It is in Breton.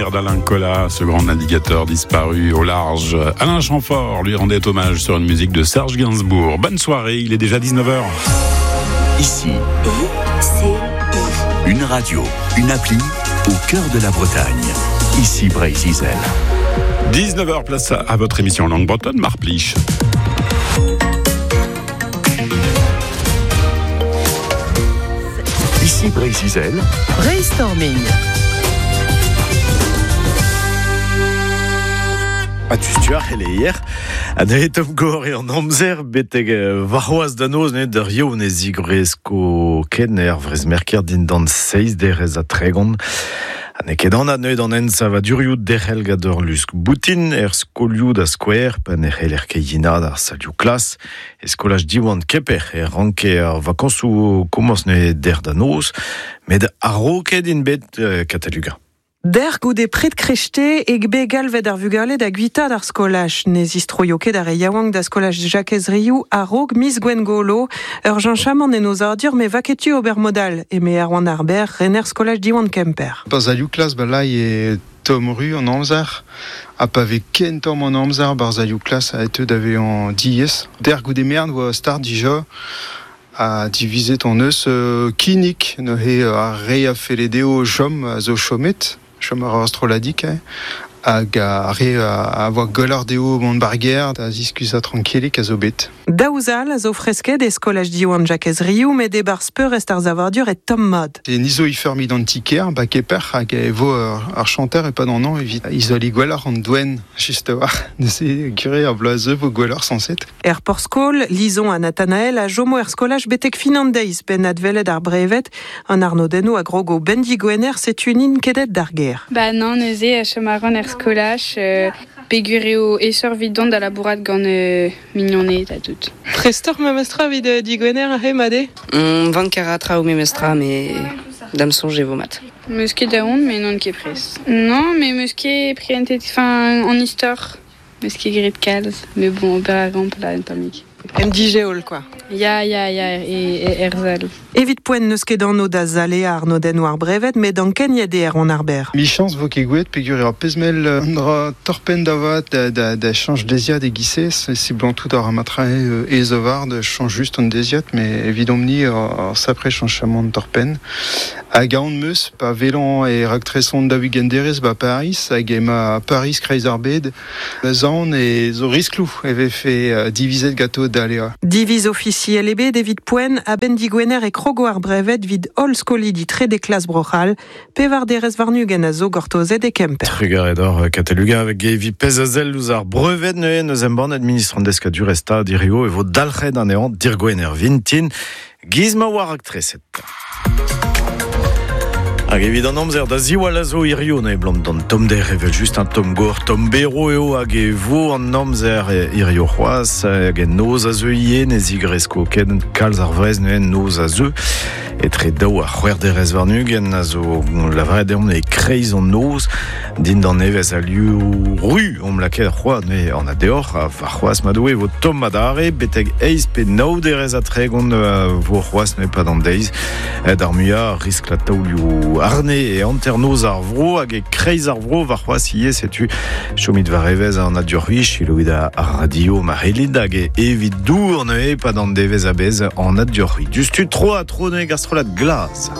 souvenir d'Alain Colas, ce grand navigateur disparu au large. Alain Chamfort lui rendait hommage sur une musique de Serge Gainsbourg. Bonne soirée, il est déjà 19h. Ici, I, C, I. une radio, une appli au cœur de la Bretagne. Ici Breizh Izel. 19h, place à votre émission Langue Bretonne, Marpliche. Ici Breizh Izel. Brainstorming. A tu ar c'heleier, a neuze tom gor eo an amzer betek warc'hoazh da noz neuze d'ur yaou ne zigresko ken er vrezmerker dindan seizh derez ha 30. Ha n'eo ket anat neuze d'an ensavadurioù derc'hel gant ur lusk boutin er skolioù da skouer pa ne c'heller ket yinaat ar salioù klas. E skolaj Diwan Kemper e ranke ar vakañsoù komañs neuze dec'h da noz, met a-raok int bet Kataluga. Der goude pred krechte e be galvet ar vugale da guitaat ar skolaj. Ne zistroio ket ar re yaouank da skolaj Jakez Riou a-raok miz Gwengolo. Ur jañchamant en ozadur me vaketu ober modal, eme Erwan Ar Berr, rener skolaj Diwan Kemper. Pas alioù klas ba lai e tomm ru an amzer, ha pa vez ken tomm an amzer barzh alioù klas a eteu da vezañ diaes. Der goude mern oa start dija, ha divizet hon eus kinnig neuze ar re a felle dezho chom a zo chomet, chom ar ur strolladig, eh, hag ar re a voa gwelloc'h dezho mont ba'r gêr da ziskuizhañ trankilik a zo bet. Daou zal a zo fresket e skolaj Diwan Jakez Riou, met e-barzh peurrest ar savadur e tomm mat. E nizo ifermi d'an ti-kêr, ba Kemper, hag e vo ar chanter e-pad an hañv evit izoliñ gwelloc'h an doenn, just a-walc'h. Neuze gure ar bloaz vo gwelloc'h sañset. Er porzh-skol, Lison ha Nathanaël a chomo er skolaj betek fin an deiz, benn adwelet ar breved. An arnodennoù a grogo benn digwener, setu n'int ket aet d'ar gêr. Ba nann, neuze, chom a ran er skolaj, peogwir eo aesoc'h evit dont da labourat gant mignoned ha tout. Prestoc'h memestra evit digwener aze, mat eo? Vank a ra traoù memestra, met da'm soñj e vo mat. Meus ket aon, met n'on ket prest. Non, mais meus ket prientet enfin, an istor. Meus ket graet kalz, met bon, ober a ran plat un tammig. En dijeol, quoi. Ya, ya, ya, e, e er sal. Evit poent n'eus ket anv da zaleañ arnodennoù ar breved, met ankeniet eo Erwan Ar Berr. Michañs vo ket gwelet peogwir eo ar pezh mell un dra torr-penn da vat da, da, da chañch deiziad e-giz-se. Seblantout a ra mat-tre aes a-walc'h da chañch just an deiziad, met evidomp-ni ur sapre chañchamant torr-penn. Hag aon 'm eus pa welan e raktresont daou-ugent derez 'ba Pariz hag emañ Pariz kreiz ar bed. Zaon e zo riskloù e vefe divizet ganto daleañ. Diviz ofisiel ebet evit poent a-benn digwener e krogo ar breved evit holl skolidi trede klas Bro-C'hall. Pevar derez warn-ugent a zo gortozet e Kemper. Trugarez deoc'h Kateluga avec evit pezh a sell ouzh ar breved neuze n'eus embannet ministr an deskadurezh Stad hirio e vo dalc'het anezhañ dirgwener vintin giz ma oa raktreset. Hag evit an amzer da ziwall a zo hirio ne blam d'an tommder evel just un tomm gor tomm bero eo hag e vo an amzer hirio c'hoazh hag en noz a zeu ivez ne zigresko ket kalz ar wrez neuze noz a zeu etre daou ha c'hwec'h derez warn-ugent a zo lavaret deomp e kreiz an noz dindan evezh al liv ru omp lakaet c'hoazh neuze an deoc'h ha warc'hoazh ma Doue e vo tomm adarre betek eizh pe nav derez ha 30 vo c'hoazh neuze pad an deiz d'ar muiañ riskl taolioù arne e hanternoz ar vro hag e kreiz ar vro warc'hoazh ivez setu chomit war evezh an adioc'h selaouit ar radio ma c'hellit hag evit dour neuze pad an devezh a-bezh an adioc'h diouzhtu tro ha tro neuze gant strollad glas.